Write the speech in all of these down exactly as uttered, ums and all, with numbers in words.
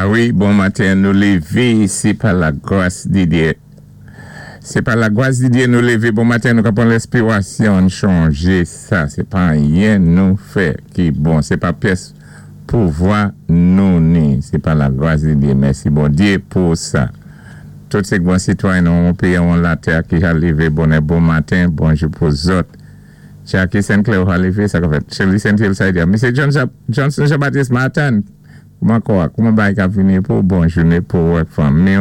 Ah wi, bon maten, nou lévé, sé pa lagwas di Diyé. Sé pa lagwas di Diyé nou lévé, bon maten, nou ka pwan lenspiwasyon, chanjé sa, sé pa anyen nou fè ki bon, sé pa pyès pouvwa nou ni, sé pa lagwas di Diyé, mèsi Bondyé pou sa. Tout sé bon sitwayen nou péyi an latè ki ka lévé bonè bon maten, bonjou pou zòt. Jackie Saint Clair ka lévé, sa ka fèt. Shirley Saint Hill sa di. Misye Johnson Jean-Baptiste Martin, kouman kwa, kouman bay ka vini pou bon jouné pou wèk fanmi,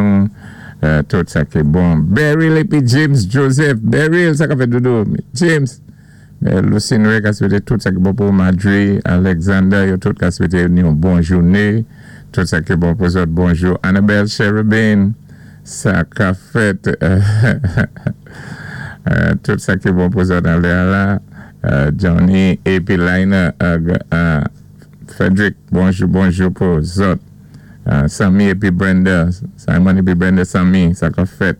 tout sa ki bon. Beryl épi James Joseph, Beryl, sa ka fèt doudou. James, Lucine Ray ka swété tout sa ki bon pou Madrid, Alexander, yo tout ka swété yon bon jouné. Tout sa ki bon pou zòt, bonjou. Annabelle Cherubin, sa ka fèt, tout sa ki bon pou zòt an lè la. Johnny épi Lina, Frederick, bonjou, bonjou pou zòt. Sammy épi Brenda, Simon épi Brenda Sammy, sa ka fèt.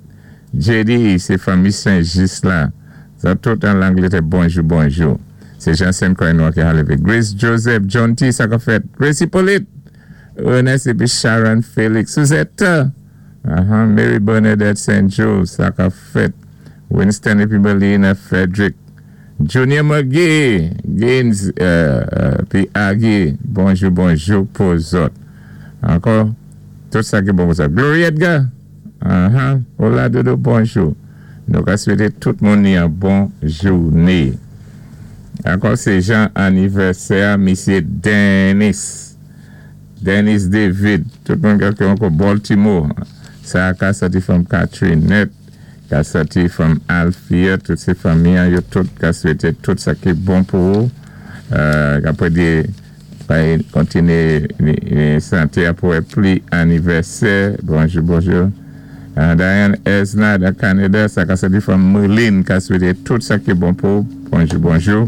J D, sé fanmi Saint-Just la. Sa tout an Langlétè, bonjou, bonjou. Sé Jean-Saint Coynois ki a lévé. Grace Joseph, John T, sa ka fèt. Grace Hippolyte, Ernest épi Sharon Felix, Suzette, uh-huh, Mary Bernadette Saint Jules, sa ka fèt. Winston épi Melina Frederick, Junior McGee, Gaines, pi Aggie, bonjou, bonjou pou zòt. Ankò, tout sa ki bon pou sa. Glory Edgar, uh-huh, hola doudou, bonjou. Nou ka swété tout moun yon bon jouné. Ankò sé jan anivèsè, Misye Dennis. Dennis David, tout moun ki ankò Baltimore. Sa ka soti from Catherine Net, ka soti from Althea, tout sé fanmi, yo tout ka swété tout sa ki bon pou ou. Apwé di, kontiné santé apwé pli anivèsè. Bonjou, bonjou. Diane Esna da Canada, sa ka soti from Merlin, ka swété tout sa ki bon pou. Bonjou, bonjou.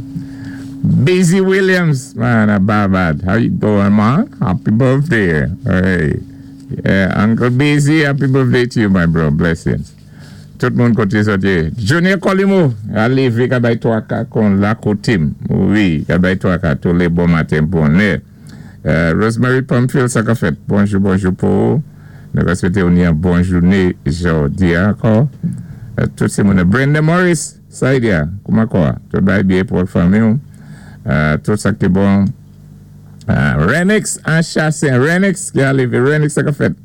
Busy Williams, man, a Barbad. How you doing, man? Happy birthday. Hey. Yeah, Uncle Busy, happy birthday to you, my bro. Blessings. Tout moun koté soti. Junior Colimo, a lévé ka bay twaka kon la kotim. Wi, ka bay twaka tou lé bon maten bonè. Rosemary Pumfield, sa ka fèt. Bonjou, bonjou pou. Nou ka swété ou ni yon bon jouné jòdi ankò. Tout sé moun. Brenda Morris, sa y diya, kouman kwa? Tout bay byen pou fanmi ou. Tout sa ki bon. Renix an chasen. Renix ki a lévé. Renix sa ka fèt.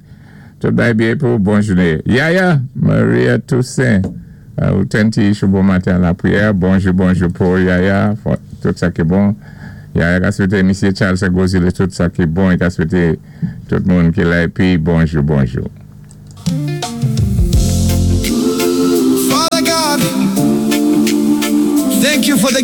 Tout bay byen pou bon jouné. Yaya, Maria Toussaint. Ou tenti chou bon maten lapriyè. Bonjou, bonjou pou Yaya. Tout sa ki bon. Yaya ka swété Misye Charles Gozile tout sa ki bon. Ka swété tout moun ki la épi bonjou, bonjou. Father God, thank you for the